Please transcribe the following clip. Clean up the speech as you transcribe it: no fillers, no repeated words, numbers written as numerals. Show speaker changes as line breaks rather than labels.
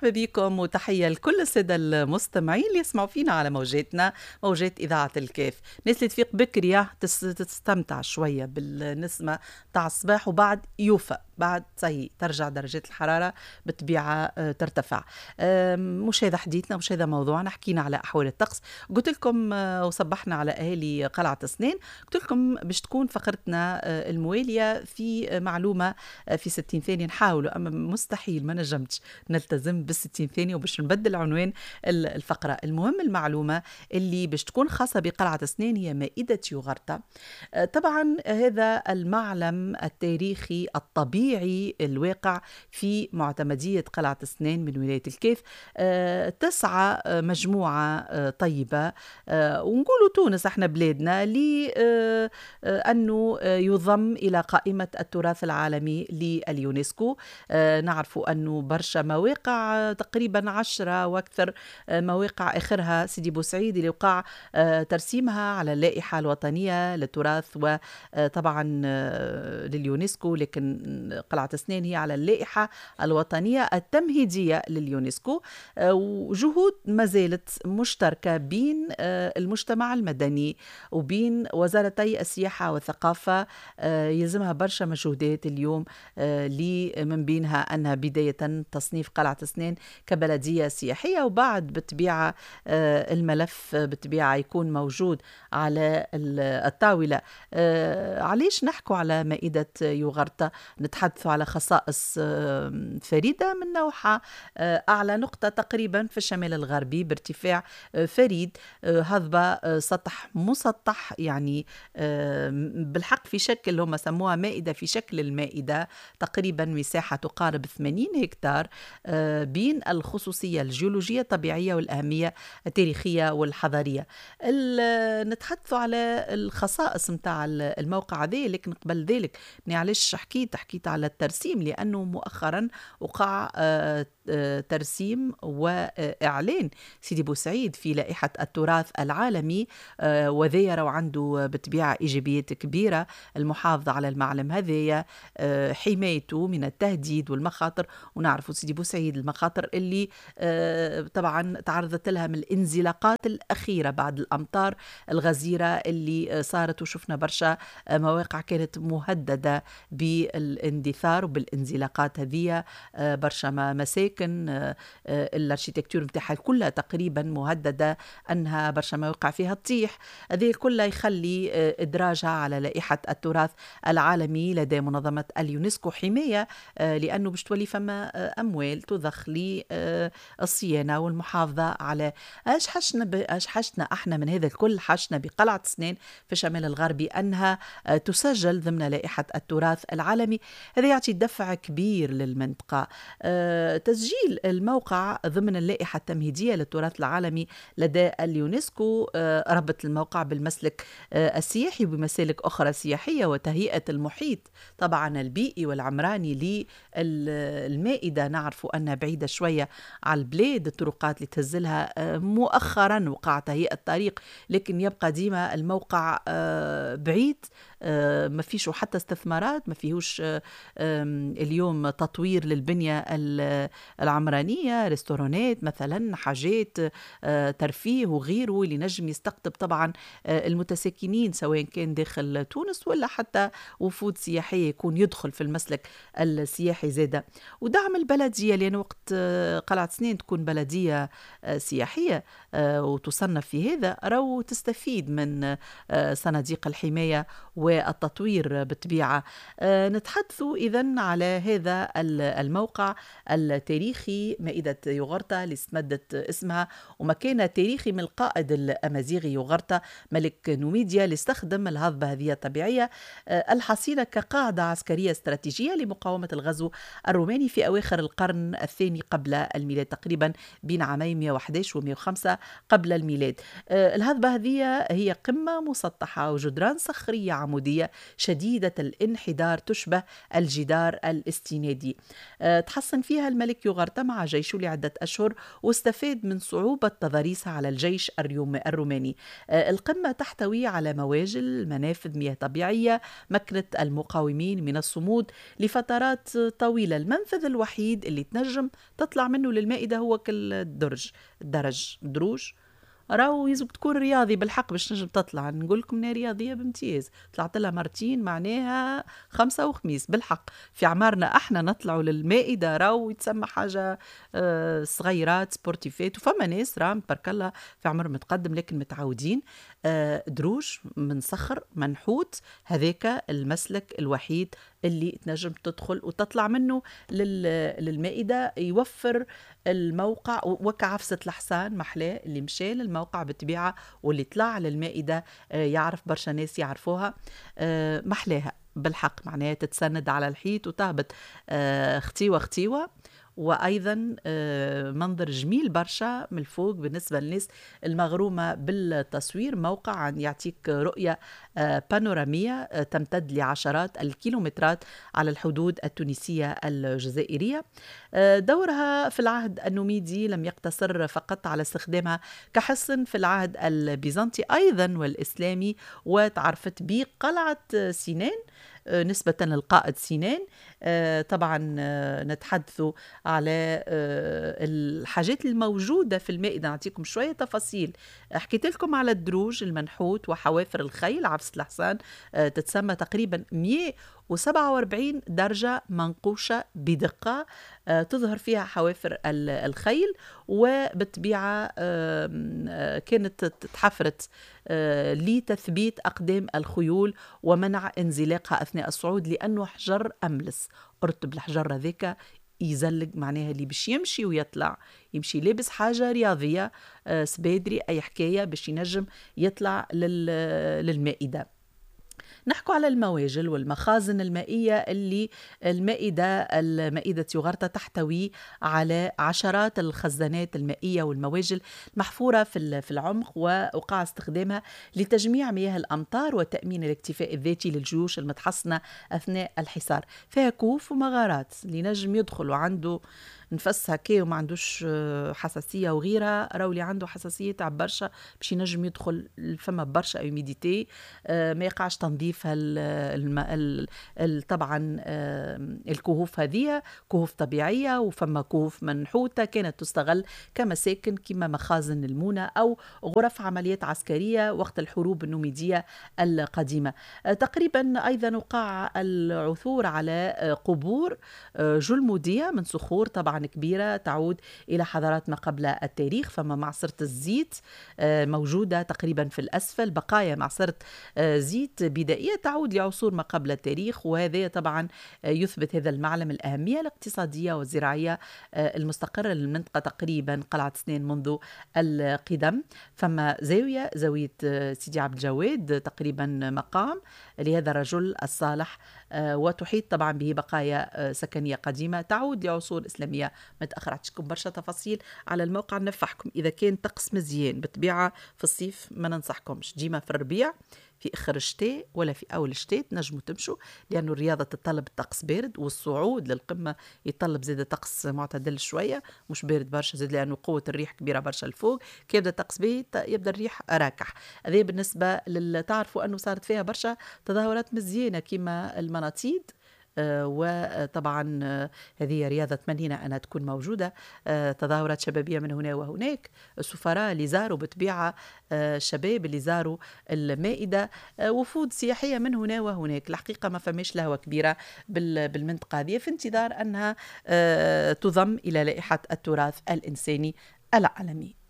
مرحبا بكم وتحية لكل السادة المستمعين اللي يسمعوا فينا على موجاتنا، موجات إذاعة الكاف. الناس اللي تفيق بكري تستمتع شوية بالنسمة تاع الصباح، وبعد يوفى بعد صحيح ترجع درجات الحرارة بالطبيعة ترتفع. مش هذا حديثنا، مش هذا موضوعنا. حكينا على أحوال الطقس، قلت لكم وصبحنا على أهالي قلعة سنان، قلت لكم باش تكون فقرتنا الموالية في معلومة في 60 ثانية. نحاولوا، أما مستحيل ما نجمتش نلتزم بال60 ثانية وباش نبدل عنوان الفقرة. المهم المعلومة اللي باش تكون خاصة بقلعة سنان هي مائدة يوغرطة. طبعا هذا المعلم التاريخي الطبيعي الواقع في معتمدية قلعة سنان من ولاية الكاف. تسعى مجموعة طيبة ونقولوا تونس احنا بلادنا لأنه يضم إلى قائمة التراث العالمي لليونسكو. نعرف أنه برشا مواقع، تقريبا 10 وأكثر مواقع، آخرها سيدي بوسعيد اللي وقع ترسيمها على اللائحة الوطنية للتراث وطبعا لليونسكو، لكن قلعة سنان هي على اللائحة الوطنية التمهيدية لليونسكو. وجهود ما زالت مشتركة بين المجتمع المدني وبين وزارتي السياحة والثقافة. يلزمها برشا مجهودات اليوم، من بينها أنها بداية تصنيف قلعة سنان كبلدية سياحية، وبعد بالطبيعة الملف بالطبيعة يكون موجود على الطاولة. علاش نحكوا على مائدة يوغرطة؟ نتحدث على خصائص فريدة من نوعها، أعلى نقطة تقريبا في الشمال الغربي بارتفاع فريد، هضبة سطح مسطح، يعني بالحق في شكل هم سموها مائدة، في شكل المائدة، تقريبا مساحة تقارب 80 هكتار، بين الخصوصية الجيولوجية الطبيعية والأهمية التاريخية والحضارية. نتحدث على الخصائص متاع الموقع هذا، لكن قبل ذلك علاش حكيت على الترسيم، لأنه مؤخرا وقع ترسيم وإعلان سيدي بوسعيد في لائحة التراث العالمي، وذا راهو عنده بالطبيعة إيجابيات كبيرة، المحافظة على المعلم هذايا، حمايته من التهديد والمخاطر. ونعرفوا سيدي بوسعيد المخاطر اللي طبعا تعرضت لها من الانزلاقات الأخيرة بعد الأمطار الغزيرة اللي صارت، وشفنا برشا مواقع كانت مهددة بالاندثار وبالانزلاقات هذه، برشا مساكن ال architecture نتاعها كلها تقريبا مهددة انها برشا مواقع فيها تطيح. هذه كلها يخلي ادراجها على لائحة التراث العالمي لدى منظمة اليونسكو حماية، لانه باش تولي فما اموال تضخ للصيانه والمحافظة على اش حشنا احنا من هذا الكل. حشنا بقلعه سنان في الشمال الغربي انها تسجل ضمن لائحة التراث العالمي. هذا يعطي دفع كبير للمنطقة. تسجيل الموقع ضمن اللائحة التمهيدية للتراث العالمي لدى اليونسكو ربط الموقع بالمسلك السياحي وبمسالك أخرى سياحية، وتهيئة المحيط طبعا البيئي والعمراني للمائدة. نعرف أنها بعيدة شوية على البلاد، الطرقات اللي تهزلها مؤخرا وقع تهيئة الطريق، لكن يبقى ديما الموقع بعيد، ما فيش حتى استثمارات، ما فيهوش اليوم تطوير للبنية العمرانية، ريستورانات مثلا، حاجات ترفيه وغيره اللي نجم يستقطب طبعا المتساكنين سواء كان داخل تونس ولا حتى وفود سياحية يكون يدخل في المسلك السياحي زادة. ودعم البلدية، لأن وقت قلعة سنان تكون بلدية سياحية وتصنف في هذا، راو تستفيد من صناديق الحماية والتطوير بالطبيعة. نتحدث إذن على هذا الموقع التاريخي مائدة يوغرطة اللي استمدت اسمها ومكانة تاريخي من القائد الأمازيغي يوغرطة ملك نوميديا، اللي استخدم الهضبة هذه الطبيعية الحصينة كقاعدة عسكرية استراتيجية لمقاومة الغزو الروماني في أواخر القرن الثاني قبل الميلاد، تقريبا بين عامي 111 و 105 قبل الميلاد. الهضبة هذه هي قمة مسطحة وجدران صخرية عمودية عمودية شديدة الانحدار تشبه الجدار الاستنادي. تحصن فيها الملك يوغرطة مع جيشه لعدة أشهر، واستفاد من صعوبة تضاريسها على الجيش الروماني. القمة تحتوي على مواجل، منافذ مياه طبيعية مكنت المقاومين من الصمود لفترات طويلة. المنفذ الوحيد اللي تنجم تطلع منه للمائدة هو كل الدرج، الدرج دروج، راهو يلزم تكون رياضي بالحق باش تنجم تطلع. نقول لكم انا رياضية بامتياز، طلعت لها مرتين معناها 5 وخميس بالحق. في عمارنا احنا نطلعوا للمائده راهو يتسمى حاجة صغيرات sportif ات، وفما ناس راهم تبارك الله في عمر متقدم لكن متعودين. دروج من صخر منحوت، هذاك المسلك الوحيد اللي تنجم تدخل وتطلع منه للمائدة. يوفر الموقع وكعفسة الحصان محلاه اللي مشى للموقع بالطبيعة واللي طلع للمائدة، يعرف برشا ناس يعرفوها، محلاها بالحق، معناها تتسند على الحيط وتهبط ختيوة ختيوة. وأيضا منظر جميل برشا من الفوق بالنسبة للناس المغرومة بالتصوير. موقع يعطيك رؤية بانورامية تمتد لعشرات الكيلومترات على الحدود التونسية الجزائرية. دورها في العهد النوميدي لم يقتصر فقط على استخدامها كحصن في العهد البيزنطي أيضا والإسلامي، وتعرفت بقلعة سنان نسبة للقائد سنان. طبعا نتحدث على الحاجات الموجودة في المائدة، نعطيكم شوية تفاصيل. حكيت لكم على الدروج المنحوت وحوافر الخيل. عفسة الحصان تتسمى تقريبا 147 درجة منقوشة بدقة، تظهر فيها حوافر الخيل، وبالطبيعة كانت تحفرت لتثبيت أقدام الخيول ومنع انزلاقها أثناء الصعود، لأنه حجر أملس، أرتب الحجر هذاك يزلق، معناها اللي باش يمشي ويطلع يمشي لابس حاجة رياضية، سبادري أي حكاية باش ينجم يطلع للمائدة. نحكوا على المواجل والمخازن المائية اللي المائدة يوغرطة تحتوي على عشرات الخزانات المائية والمواجل المحفورة في العمق، ووقع استخدامها لتجميع مياه الأمطار وتأمين الاكتفاء الذاتي للجيوش المتحصنة أثناء الحصار. فيها كهوف ومغارات اللي نجم يدخل وعنده نفس هكا وما عندوش حساسية وغيرها، راهو اللي عنده حساسية تعب برشا باش ينجم يدخل، فما برشا humidité، ما يقعش تنظيف طبعا الكهوف هذه كهوف طبيعية، وفما كهوف منحوتة كانت تستغل كمساكن كما مخازن المونة أو غرف عمليات عسكرية وقت الحروب النوميدية القديمة. تقريبا أيضا وقع العثور على قبور جلمودية من صخور طبعا كبيرة تعود إلى حضارات ما قبل التاريخ. فما معصرة الزيت موجودة تقريبا في الأسفل، بقايا معصرة زيت بدائية تعود لعصور ما قبل التاريخ، وهذا طبعا يثبت هذا المعلم الأهمية الاقتصادية والزراعية المستقرة للمنطقة تقريبا قلعة سنان منذ القدم. فما زاوية سيدي عبد الجواد تقريبا مقام لهذا الرجل الصالح، وتحيط طبعا به بقايا سكنية قديمة تعود لعصور إسلامية متأخرة. عطيتكم برشا تفاصيل على الموقع نفحكم. إذا كان طقس مزيان بالطبيعة في الصيف ما ننصحكمش، ديما في الربيع في آخر الشتاء ولا في أول الشتاء تنجموا تمشوا، لأنه الرياضة تتطلب طقس بارد، والصعود للقمة يتطلب زاد طقس معتدل شوية، مش بارد برشا زاد، لأنه قوة الريح كبيرة برشا الفوق. كي يبدأ الطقس باهي يبدأ الريح راكح. هذا بالنسبة تعرفوا أنه صارت فيها برشا تظاهرات مزيانة كما المناطيد، وطبعا هذه رياضة تمنينا أنها تكون موجودة، تظاهرات شبابية من هنا وهناك، السفراء اللي زاروا بالطبيعة، الشباب اللي زاروا المائدة، وفود سياحية من هنا وهناك. الحقيقة ما فماش لهوة كبيرة بالمنطقة هذه، في انتظار أنها تضم إلى لائحة التراث الإنساني العالمي.